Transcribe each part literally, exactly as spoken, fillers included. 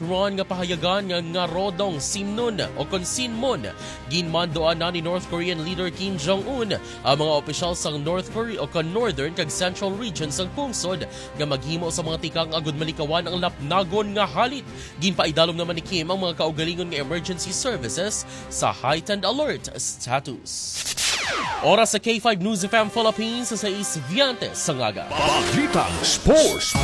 Ron nga pahayagan nga, nga Rodong Simnon o kon Sinmon. Ginmandoan na ni North Korean leader Kim Jong-un ang mga opisyal sang North Korea o kon Northern kag Central Region sang pungsod nga maghimo sa mga tikang agud malikawan ang lapnagon nga halit. Ginpaidalom naman ni Kim ang mga kaugalingon nga emergency services sa heightened alert status. Oras sa K five News F M Philippines sa sais veinte sa aga. Balitang Sports.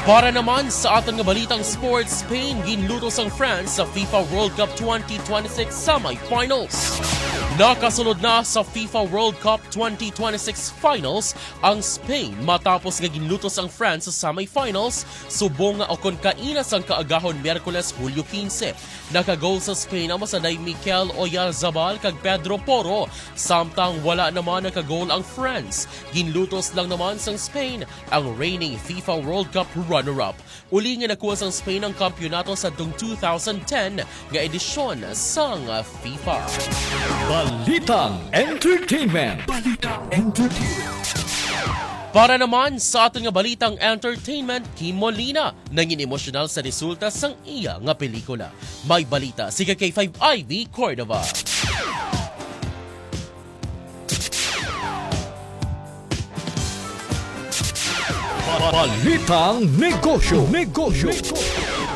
Para naman sa aton nga balitang sports, Spain ginlutos ang France sa FIFA World Cup twenty twenty-six semifinals. Nakasulod na sa FIFA World Cup twenty twenty-six finals ang Spain matapos nga ginlutos ang France sa semifinals subong nga o kon kaina sang kaagahon Miyerkules, Hulyo quince. Nakagol sa Spain ang masanday Mikel Oyarzabal kag Pedro Porro, samtang wala naman nakagol ang France. Ginlutos lang naman sang Spain ang reigning FIFA World Cup runner-up. Uli nga nakuha sang Spain ang kampiyonato sa tung two thousand ten nga edisyon sang FIFA. Balitang Entertainment. Balitang Entertainment. Para naman sa aton nga balitang entertainment, Kim Molina nangin emosyonal sa resulta sang iya nga pelikula. May balita si ka K five Ivy Cordova. Balitang Negosyo. Negosyo.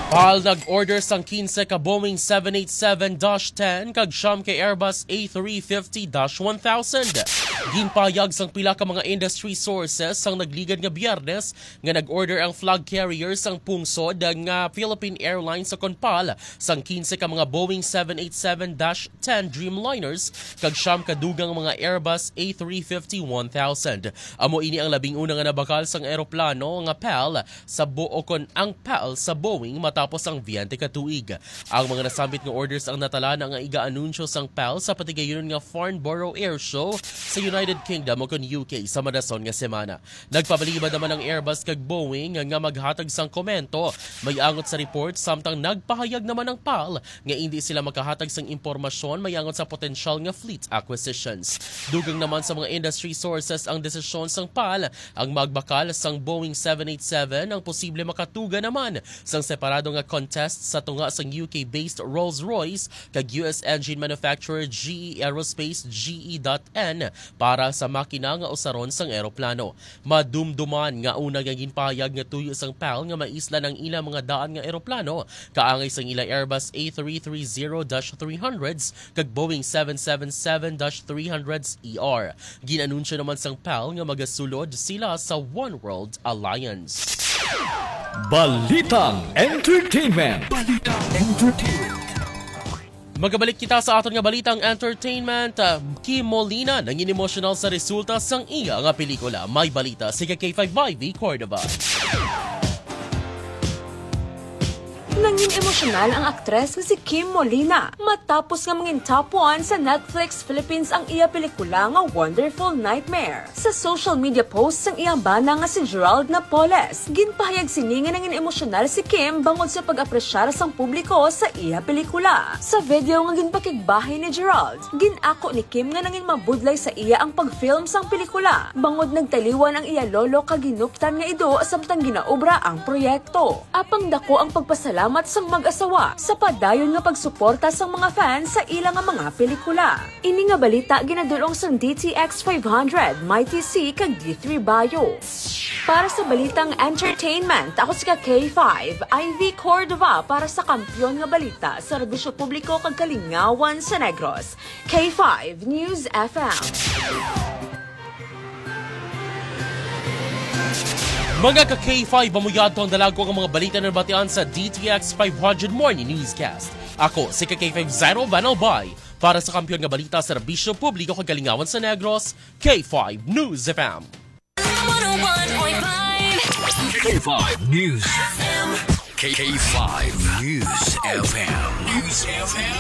Pal nag-order sang quince ka Boeing seven eight seven dash ten kag siyam ka Airbus A three fifty dash one thousand. Ginpahayag sang pila ka mga industry sources sang nagligad nga Biyernes nga nag-order ang flag carrier sang pungsod nga Philippine Airlines o kon pal sang quince ka mga Boeing seven eight seven dash ten Dreamliners kag siyam ka dugang mga Airbus A three fifty one thousand. Amo ini ang labing una nga nabakal sang eroplano nga pal sa bo-, o kon ang pal sa Boeing matapos ang biyente ka tuig. Ang mga nasambit nga orders ang natalana nga iga-anunsyo sang pal sa patigayonon nga Farnborough Air Show sa United Kingdom o kon U K sa madason nga semana. Nagpabalibad naman ang Airbus kag Boeing nga maghatag sang komento. May angot sa report, samtang nagpahayag naman ang pal nga indi sila makahatag sang impormasyon may angot sa potensyal nga fleet acquisitions. Dugang naman sa mga industry sources ang desisyon sang pal, ang magbakal sang Boeing seven eight seven ang posible makatuga naman sang separado nga contest sa tunga sang U K-based Rolls-Royce kag U S engine manufacturer G E Aerospace, G E dot N, para sa makina nga usaron sang eroplano. Madumduman nga una nga ginpahayag nga tuyo sang pal nga maislan ang ilang mga daan nga eroplano, kaangay sang ila Airbus A three three zero dash three hundreds kag Boeing seven seven seven dash three hundreds E R. Gin-anunsyo naman sang pal nga magasulod sila sa One World Alliance. Balitang Entertainment. Balitang Entertainment. Magabalik kita sa aton nga balitang entertainment. Ah, Kim Molina nangin emosyonal sa resulta sang iya nga pelikula. May balita si ka K five Ivy Cordova. Nangin emosyonal ang aktres nga si Kim Molina matapos nga mangin top one sa Netflix Philippines ang iya pelikula nga Wonderful Nightmare. Sa social media post sang iyang bana nga si Gerald Napoles, ginpahayag sini nga nangin emosyonal si Kim bangod sa pag-apresyar sang publiko sa iya pelikula. Sa video nga ginpakigbahin ni Gerald, gin-ako ni Kim nga nangin mabudlay sa iya ang pag-film sang pelikula, bangod nagtaliwan ang iya lolo kag hinuptan nga ido samtang ginaobra ang proyekto. Apang dako ang pagpasalamat sang mag-asawa sa padayon nga pagsuporta sang mga fans sa ila nga mga pelikula. Ini nga balita ginadul-ong sang D T X five hundred, Mighty C, kag D three Bio. Para sa balitang entertainment, ako si ka K five, Ivy Cordova, para sa kampiyon nga balita, serbisyo publiko kag kalingawan sa Negros. K five News F M. Mga ka K five, amo yadto ang dalagko nga mga balita na nabatian sa D T X five hundred Morning Newscast. Ako si ka K five Zairo Van Albay. Para sa kampiyon nga balita, serbisyo publiko kag kalingawan sa Negros, K five News F M. One oh one point five. K five News. K five News F M. News F M.